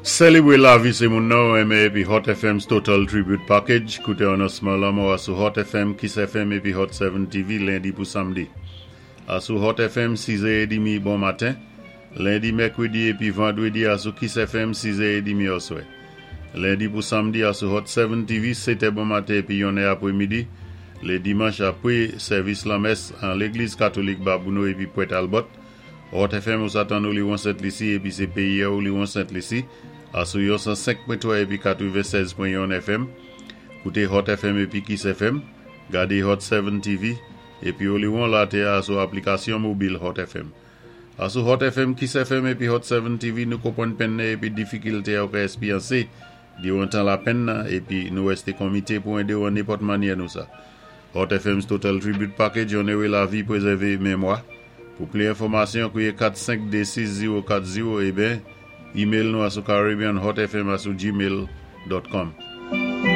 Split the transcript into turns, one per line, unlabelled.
Sélébwé lavi sé moun nan ou renmen épi Hot FM's Total Tribute Package. Kouté anonsman lanmò a sou Hot FM, Kiss FM épi Hot 7 TV lendi pou samdi. Asou Hot FM 6 è édmi bon maten, lendi, mèkwédi épi vandwédi asou Kiss FM 6 è édmi oswè. Lendi pou samdi asou Hot 7 TV 7 è bon maten épi 1 è apwémidi, lé dimanch apwé sèvis lanmès an Légliz Katolik Babouno épi Pwèt Albòt. Hot FM ou sa tann Oliwon Sent Lisi épi sé péyi a Oliwon Sent Lisi asou yon 105.3 épi 96.1 FM. Kouté Hot FM épi Kiss FM, gadé Hot 7 TV épi Oliwon latè a asou aplikasyon mobil Hot FM. Asou Hot FM, Kiss FM épi Hot 7 TV nou konpwann penn nan épi difikilté a ou ka èspyansé diwan tan lapenn nan épi nou wèsté konmité pou édé ou an nenpòt mannyè nou sa. Hot FM's Total Tribute Package onoré lavi, pwézèvé mémwa. Pou pli enfòmasyon, kwiyé 4526040 ében email nou asou caribbeanhotfm@gmail.com.